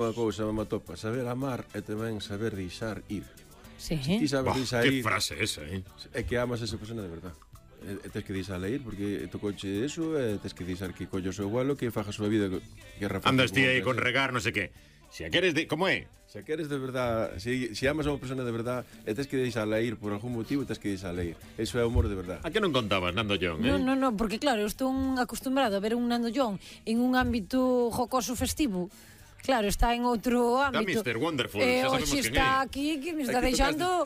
Unha cousa me atopa, saber amar e tamén saber deixar ir. Sí. Ti sabes deixar ir. Que frase esa, É que amas a esa persona de verdad. E tes que deixar ir porque tocouche eso e tes que deixar que collo o seu vuelo, que faja a súa vida que rafa. Andas ti aí con regar, non sei que. Se a queres de... Como é? Se queres de verdad, se amas a unha persona de verdad e tes que deixarla ir por algún motivo, tes que deixarla ir. Eso é amor de verdad. A que non contabas, Nando John, No, porque claro, eu estou acostumbrado a ver un Nando John en un ámbito jocoso festivo. Claro, está en outro ámbito. Está Mr. Wonderful, xa sabemos hoxe quen está é. aquí que me está Aquí deixando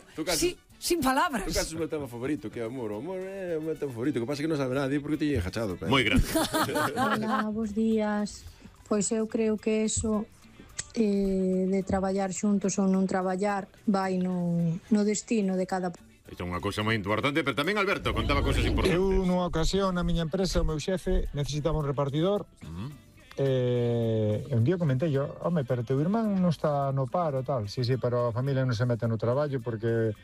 sin palabras. Tu caso é o meu tema favorito, que é o amor. O amor é o meu tema favorito, que pasa que non sabe nadie porque te lle jachado. Moi grande. Hola, bos días. Pois eu creo que eso de traballar xuntos ou non traballar vai no destino de cada. Isto é unha cousa moi importante, pero tamén Alberto contaba cousas importantes. Eu, nunha ocasión, na miña empresa, o meu xefe necesitaba un repartidor. Un día comentei yo, home, pero teu irmán non está no paro e tal. Sí, pero a familia non se mete no traballo porque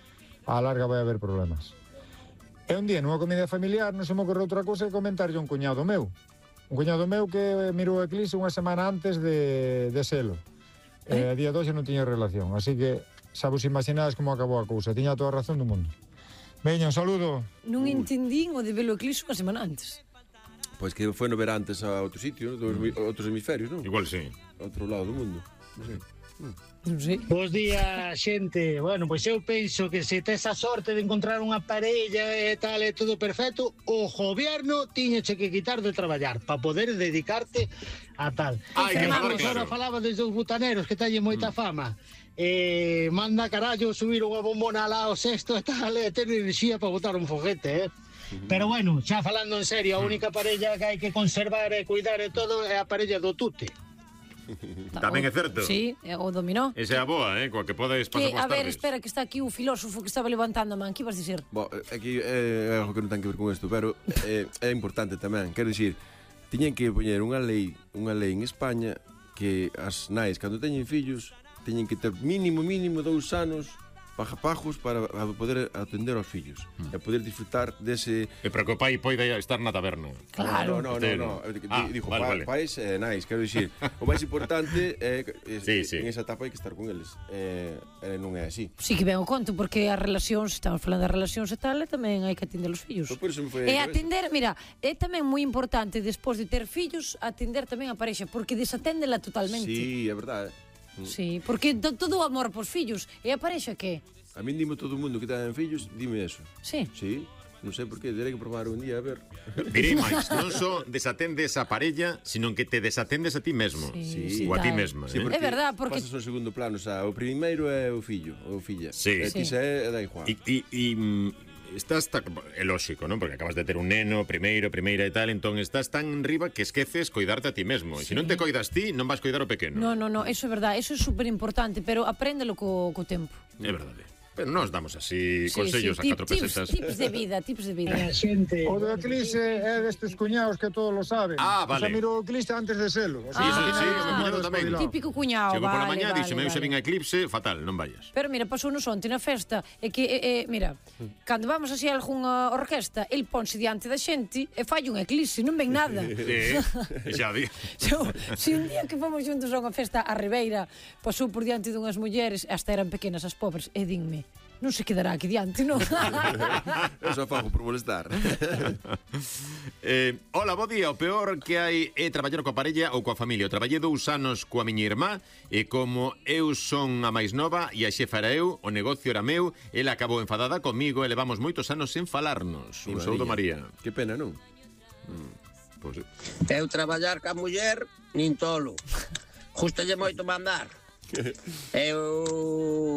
a larga vai haber problemas. E un día, nunha comida familiar, non se me ocorreu outra cousa que comentarlle a un cuñado meu. Un cuñado meu que mirou o eclipse unha semana antes de selo. A día 2 non tiña relación, así que xa vos imaginades como acabou a cousa. Tiña toda a razón do mundo. Veña, un saludo. Non entendín o de velo eclipse unha semana antes. Pois que foi no ver antes a outro sitio, outros hemisferios, non? Igual sí. Outro lado do mundo. Non sei. Bos días, xente. Bueno, pois eu penso que se tes a sorte de encontrar unha parella e tal, e todo perfecto, o goberno tiñeche que quitar de traballar para poder dedicarte a tal. Hai que falar claro. Ahora falaba desde os butaneros que tallen moita fama. Manda carallo subir unha bombona lá ao sexto e tal, e ter enerxía para botar un foguete, Pero bueno, xa falando en serio, a única parella que hai que conservar e cuidar e todo é a parella do tute. Tamén é certo. Sí, o dominó. Esa é a boa, coa que podes pasar Que, as a ver, tardes. espera, que está aquí o filósofo que estaba levantando a man. Que vas dicir? Aquí é algo que non ten que ver con isto, pero é importante tamén. Quero dicir, tiñen que poñer unha lei en España que as nais, cando teñen fillos, teñen que ter mínimo 2 anos pajos para poder atender aos fillos e poder disfrutar dese... E para que o pai poida estar na taberna. Claro. No. Dijo, vale. pais nais, quero dicir, o máis importante é Sí. en esa etapa hai que estar con eles. Non é así. Sí que ben o conto, porque as relacións, estamos falando das relacións e tal, e tamén hai que atender os fillos. Por eso me foi E atender, mira, é tamén moi importante despois de ter fillos, atender tamén a parexa, porque desaténdela totalmente. Sí, é verdade. Sí, porque todo o amor pos fillos. E a parexa que? A min dime todo o mundo que ten fillos, dime eso. Sí. Sí, non sei por qué, terei que probar un día, a ver. Direi máis, non só desatendes a parella, sino que te desatendes a ti mesmo. Sí, ou a ti tal. mesma. Sí, É verdad, porque... pasas ao segundo plano, xa, o primeiro é o fillo, ou filla. Sí. E ti xa é da igual. Estás é lógico, non? Porque acabas de ter un neno, primeira e tal, entón estás tan riba que esqueces coidarte a ti mesmo. E se non te coidas ti, non vas coidar o pequeno. No, eso é verdade, eso é super importante, pero apréndelo co tempo. É verdade. Pero nos damos así consellos a 4 pesetas. Tips de vida. Xente. O do eclipse é destes cuñados que todos lo saben. Ah, vale. O sea, miro o eclipse antes de selo. O sea, Eso al sí, final o meu cuñado tamén. Típico cuñado, Chego pola vale, mañá, vale, dixeme, eu xa vale. vin a eclipse, fatal, non vayas. Pero mira, pasou nos onte na festa, é que, mira, cando vamos así a algunha orquesta, el ponse diante da xente e fai un eclipse, non ven nada. Sí, xa di. Se un día que fomos juntos a unha festa a Ribeira, pasou por diante dunhas mulleres, hasta eran pequenas as pobres, e dinme, non se quedará aquí diante, non? Eu só fago por molestar. Hola, bo día. O peor que hai é traballar coa parella ou coa familia. Eu traballei 2 anos coa miña irmá e como eu son a máis nova e a xefa era eu, o negocio era meu, ela acabou enfadada comigo e levamos moitos anos sen falarnos. Un saúdo, María. Que pena, non? Pois, Eu traballar ca muller, nin tolo. Justalle moito mandar.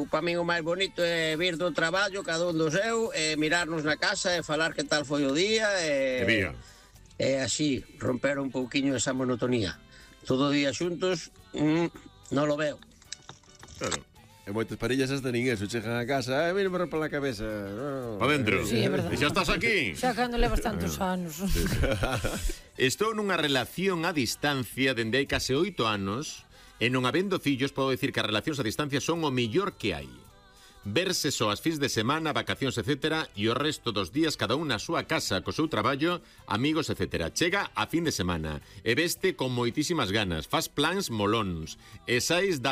Pa min o máis bonito é vir do traballo, cada un do seu, e mirarnos na casa e falar que tal foi o día día. E así, romper un pouquiño esa monotonía. Todo o día xuntos, non lo veo. claro. E moitas parellas hasta nin eso, chegan a casa, mira, me rompe la cabeza. Pa dentro. Sí, é verdade. E xa estás aquí. Xa cando levas tantos anos. Estou nunha relación a distancia dende hai case 8 anos e non habendo fillos podo dicir que as relacións a distancia son o mellor que hai. verse só as fins de semana, vacacións, etc. E o resto dos días cada un na súa casa, co seu traballo, amigos, etc. Chega a fin de semana e veste con moitísimas ganas, faz plans molóns e sais da